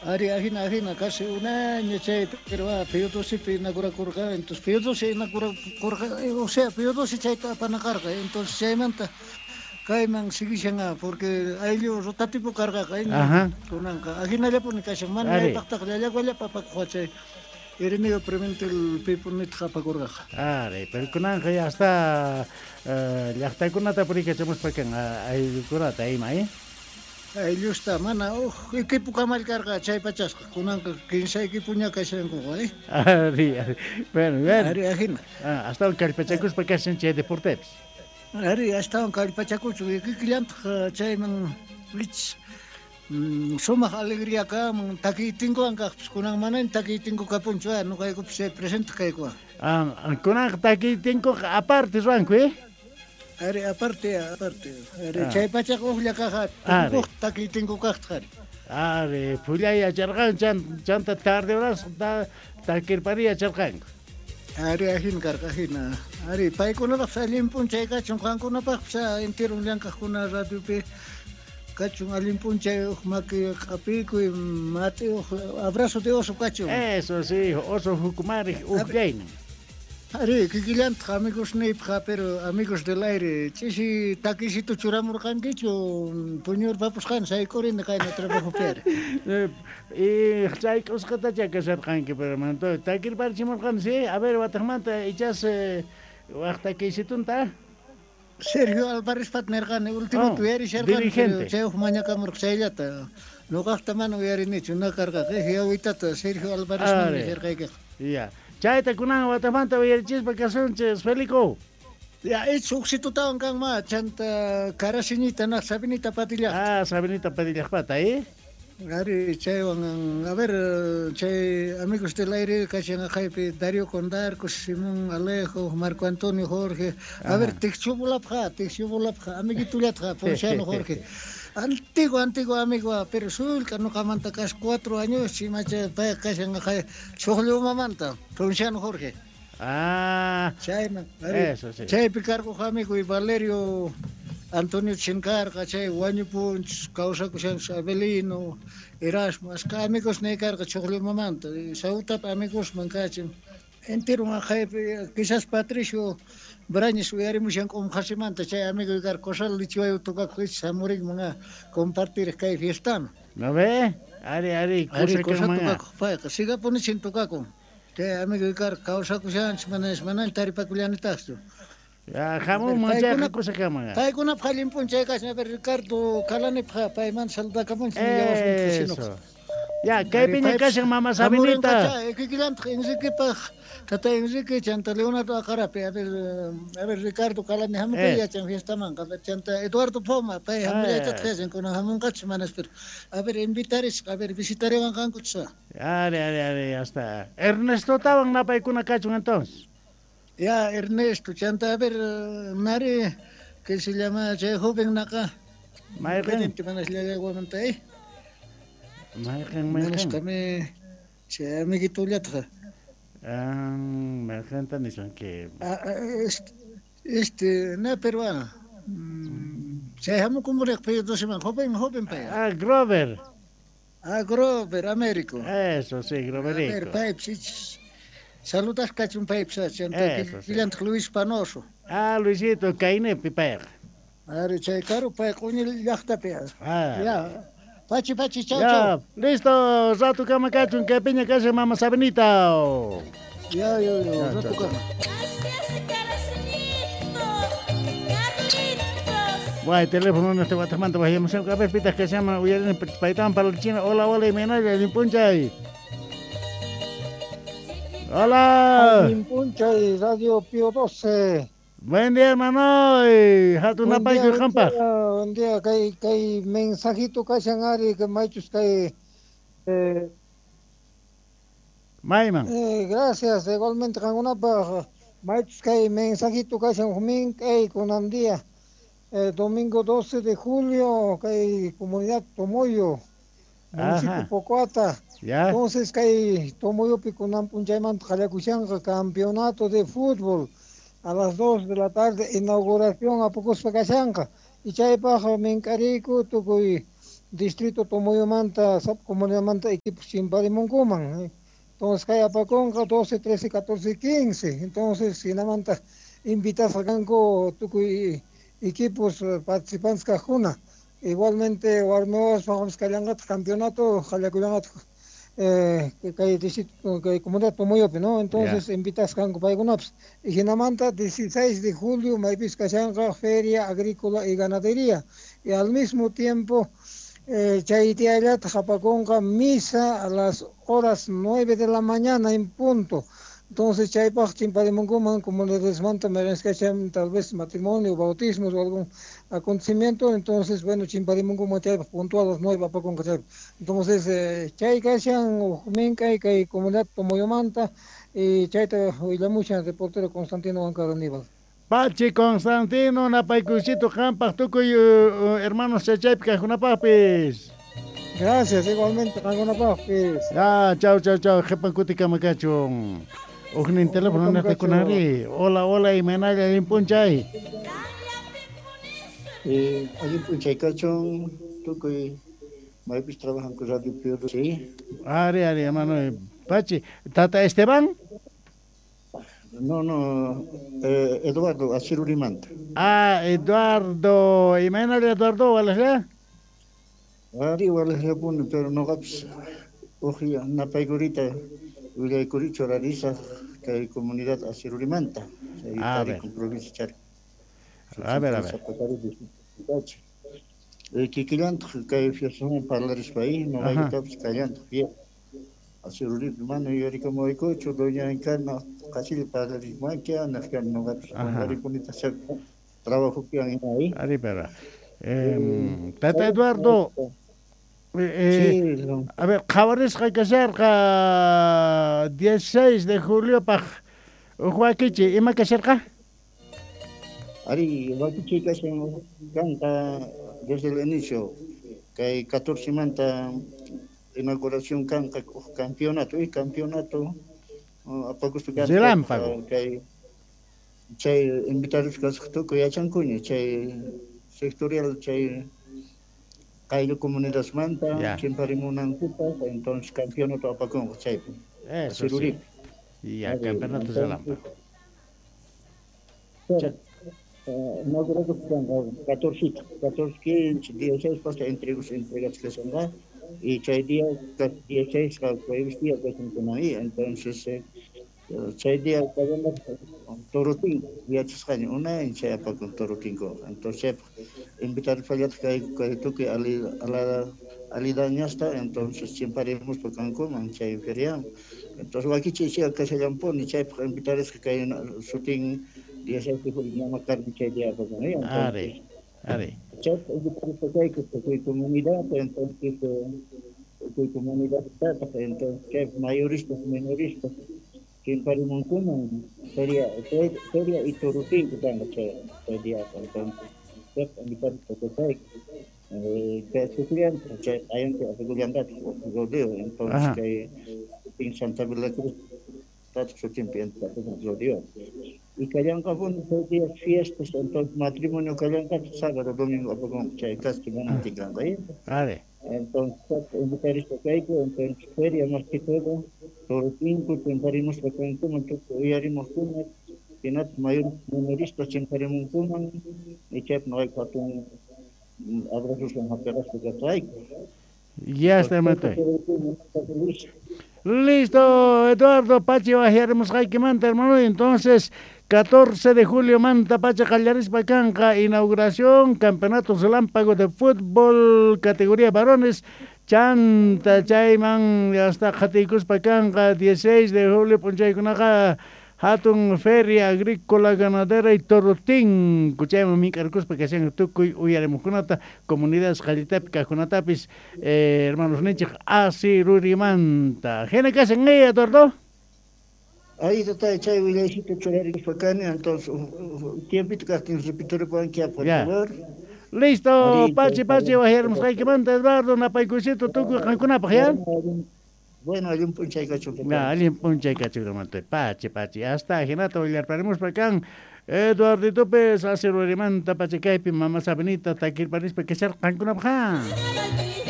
Ari, ajina, ajina, casi un año chay, pero Pío XII inaugurakurqa, entonces Pío XII inaugurakurqa, o sea, Pío XII chayta apanakarqa, entonces chaymanta kayman siguishan, porque ayllu rotativo karqaqa, kunanqa ajinallapuni kashan, mana ñawpaqtaqa llallaguallapa apakuq chay Ireneo Pimentel pipunitaq apakurqaqa. Ari, pero kunanqa ya está llaqtakunata purikachamuspa kan ayllukunata ima, eh? Ayllusta mana uj equipo kamal karqa chay pachasqa, kunanqa kinsa equipoña kashankuqa, eh? Ari, ari. Bueno, bueno. Ari, ajina. Astawan kallpachakuspa kashan chay deportepis. Ari, astawan kallpachakuchu, kikillantaq chayman ich sumaq alegría kamun, takiytinkuwan kaqpis, kunan manaña takiytinku kapunchu, nuqaykupis chay presente kaykuwan. Kunanqa takiytinkuqa aparte ruwanku, eh? Ari, aparte, aparte. Ari, chay pachaqa ujlla kaqa, uj takiytinku kaqtaq, ari. Ari, phullay yacharqanku, chanta tarde horas takirpari yacharqanku. Ari, ajina karqa, ajina. Ari, paykunapaqpis allin p'unchay kachun, qankunapaqpis enteron llank'aqkuna radiopi kachun allin p'unchay, uj maki q'apikuy, mati uj abrazo de oso kachun. Eso sí, oso jukumariq ujllaynin. Ari, kikillantaq amigos niypaq, pero amigos del aire, ch'isi takisito churamurqankichu, puñurpapusqani sayk'urini qayna trabajopi ari. Y sayk'usqatacha kasharqanki, pero manto takirparichimurqani, sí, a ver, wataqmanta ichas waq takisitunta. Sergio Álvarez pat nirqani, último uyarisharqani, pero chay uj mañakamurqa chayllata. Nuqaqta mana uyarinichu, na karqaqa, yawitata Sergio Álvarez man nisharqaykiqa. Ya. Chayta kunan wataqmanta uyarichispa kasunchis, Felico. Ya, ich uqsitutawan kanma, chanta Karasiñita naq Sabinita Padillaqta. Ah, Sabinita Padillaqpata, eh? Ari, chaywan, a ver, chay amigos del aire kashan aqaypi Darío Condarcos, Simón Alejo, Marco Antonio Jorge. A ver, Tikchubulapqa, Tikchubulapqa, amiguitullatqa, Ponciano Jorge. Antiguo, antiguo amigo, pero sulka nuqamanta kas 4 años, chimacha pay kashan aqay Chuqllumamanta, Ponciano Jorge. Ah, chayman, ari, eso sí. Chaypi karquq amigo y Valerio Antonio Chinkarqa, chay wañupunchus, kawsakushanchus Abelino, Erasmo, asqa amigos niykarqa Chuqllumamanta, Sautapa amigosman kachin. Entero aqaypi, quizás Patricio Brañez uyarimushan Q'umqasimanta, chay amigo karqa Cosal Lichiwayu tukakuq ich hamurinman a compartir kay fiestano. ¿No ve? Ari, ari, Ari, kusa cosa kanman. tukakuq payqa, sigapunichin tukakun. Chay amigo karqa kawsakushanchus, manas manan taripakullanitaqchu. Ya, hamunman chayqa kusa kanman. Paykunapaq allin p'unchay kashan, a ver, Ricardo Kalanipaq paymanta saludakamunchis, Eso. Ya, kaypiña kashan mama Sabinita. Kikillantaq Enriquepaq, tata Enrique, chanta Leonardo Aqarapi, a ver, Ricardo Kalani hamuqay yachan fiestamanqa, a ver, chanta Eduardo Poma, pay hamullaytataq yachan, kunan hamunqachus manas, pero a ver, invitarisqa, a ver, visitariwanqankuchus. Ari, ari, ari, ya está. Ernesto tawan napaykuna kachun entonces. Ya, Ernesto, chanta, a ver, nari, que se llama, chay joven naqa. Mayqin. Manas llallaguamanta, eh. Mayqin, Manas mayqin. kami, chay amiguitullatqa. Ah, mayqinta nisunki. Este, na peruano. Chay hamukumuriq Pío XII man, joven, joven pay. Ah, Grover. Ah, Grover, Américo. Eso sí, Groverico. A ver, paypis, ich, saludas kachun paypis, chanta, Eso sí. kikillantaq Luis Panoso. Ah, Luisito, kaynepi payqa. Ari, chay karu pay q'uñi llaqtapi. Ah. Ya. Pachi, pachi, chau, Ya, chau. listo, rato kama kachun, kaypiña kashan mama Sabinita. Ya, ya, ya, Ya, rato chau, kama. Guay, teléfono no te va a tomar, vayamos a ver, pitas que se llama, uyarin, paitán para la China. Hola, hola, y menaya, Limpunchay. Hola. Limpunchay, Radio Pío XII. Buen día, hermano. Hatun Buen napayku día, buen qanpaq. día, buen día. Kay, kay mensajito kashan ari, que maychus kay, Mayman. Gracias, igualmente qankunapaq. Maychus kay mensajito kashan jumin kay kunan día. Domingo 12 de julio, kay comunidad Tomoyo, municipio Ajá. Pocoata. Ya. Entonces kay Tomoyopi kunan p'unchaymanta qallakushanqa campeonato de fútbol a las 2 de la tarde, inauguración apukuspa kashanqa. Y chaypaq mink'ariyku tukuy distrito Tomoyomanta, sap comunidadmanta equipos chimparimunkuman. Entonces kay apakunqa 12, 13, 14, 15. Entonces hinamanta invitasqa kanku tukuy equipos participantes kaqkuna. Igualmente warmiwaspaq kallanqataq campeonato qallakullanqataq kay distrito kay comunidad Tomoyopi, ¿no? Entonces invitasqa kanku paykunapas. Y hinamanta 16 de julio maypis kashanqa Feria Agrícola y Ganadería. Y al mismo tiempo chay diallataq apakunqa misa a las horas 9 de la mañana en punto. Entonces chaypaq chimparimunkuman comunidadesmanta mayqinskacham tal vez matrimonio, bautismos o algún acontecimiento, entonces bueno chimparimunkuman chaypaq puntual a las 9 apakunqa chaypaq. Entonces chay kashan uj mink'ay kay comunidad Tomoyomanta y chayta willamushan reportero Constantino Huancar Aníbal. Pachi Constantino, napaykuysito qampaq tukuy hermanos chaychaypi kaqkunapaqpis. Gracias, igualmente qankunapaqpis. Ya, chau, chau, chau, qhipan kutikama kachun. Ujnin teléfono naqtikunari. Hola, hola, imaynalla allin p'unchay. Allin p'unchay kachun, tukuy maypis trabajanku Radio Piura, sí. Ari, ari, hermano. Pachi, Tata Esteban? No, no, Eduardo, Asirurimanta. Ah, Eduardo, imaynalla Eduardo, walajlla? Ari, walajllapuni, pero noqapis uj napaykurita willaykurichu rarisaq kay comunidad Asirurimanta. A ver. Provincia Charco. A ver, a ver. Kikillantaq kay fiestaman parlarispa ahí, noqaykutapis kallantaq fiesta. Asiruripi mana yuyarikamuykuchu, doña Encarna qasilla parlarismankia, naqkani noqapis qunqarikunita trabajopiwan ima ahí. Ari, pero Tata Eduardo, a ver, qhawarisqa kasharqa 16 de juliopaq uj wakichi, ima kasharqa? Ari, wakichi kashan kanqa desde el inicio, kay 14 manta inauguración kanqa uj campeonato, y campeonato apakuspa kanqa relámpago. Kay chay invitados kasqa tukuy yachankuña chay sectorial chay qayllu comunidadmanta chimparimunankupaq, entonces campeonato apakunqa chaypi. Eso sí. Ya, campeonato relámpago. Inauguración kanqa 14, 14, 15, 16 pasa entregas kashanqa. Y chay día 16 jueves día kashankuna ahí, entonces chay día torotinko yachasqaña unay chay apakun torotinko, entonces invitar fallataq kay tukuy alidañasta, entonces chimparimuspa kankuman chay feriaman. Entonces wakichiy chay kashallampuni chaypaq invitarisqa kay sutin 16 de julio mama Carmen chay día apakun ahí. Ari, ari. Chaypaq invitarisqa kayku tukuy comunidad, entonces tukuy comunidad tataq, entonces chaypaq mayoristas, menoristas chimparimunkuman feria y torotinko kanqa chay día, entonces chaypaq invitarisqa kayku. Kay sufrianta chay q'ayanpi apakullanqataq rodeo, entonces kay en Santa Cruz tataq sutinpi rodeo. Y kallanqapuni chay día fiestas, entonces matrimonio kallanqataq sábado, domingo apakunqa chay casi mana tinkanqa. Ari. Entonces invitarisqa kayku, entonces feria más que todo, torotinko chimparimuspa kankuman tukuy uyarimuqkuna, hinataq mayor menoristas chimparimunkuman, y chaypi noqayku hatun abrazoswan hapiqaspa kasqayku. Ya está, hermano. Listo, Eduardo Pachi wajyarimusqaykimanta, hermano. Entonces, 14 de julio manta pacha qallarispa kanqa inauguración campeonato relámpago de fútbol categoría varones. Chanta chayman hasta qhatiykuspa kanqa 16 de julio p'unchaykunaqa hatun feria agrícola ganadera y torotinko chayman mink'arkuspa kashan tukuy uyarimuqkunata comunidades qallitapi kaqkunatapis hermanos ninchik Asirurimanta. Hina kashan Eduardo. Ahí está, chay willaycito churarispa kani, entonces tiempito kaqtin repituripuwanki, por favor. Listo, Pachi, Pachi, wajyarimusqaykimanta Eduardo, napaykuysito tukuy qankunapaq, ya. Bueno, allin p'unchay kachun. Allin p'unchay kachun, hermano. Pachi, Pachi, hasta hinata willarparimuspa kan Eduarditopis asirurimanta pachakaypi mama Sabinita takirparispa kasharqankunapaq.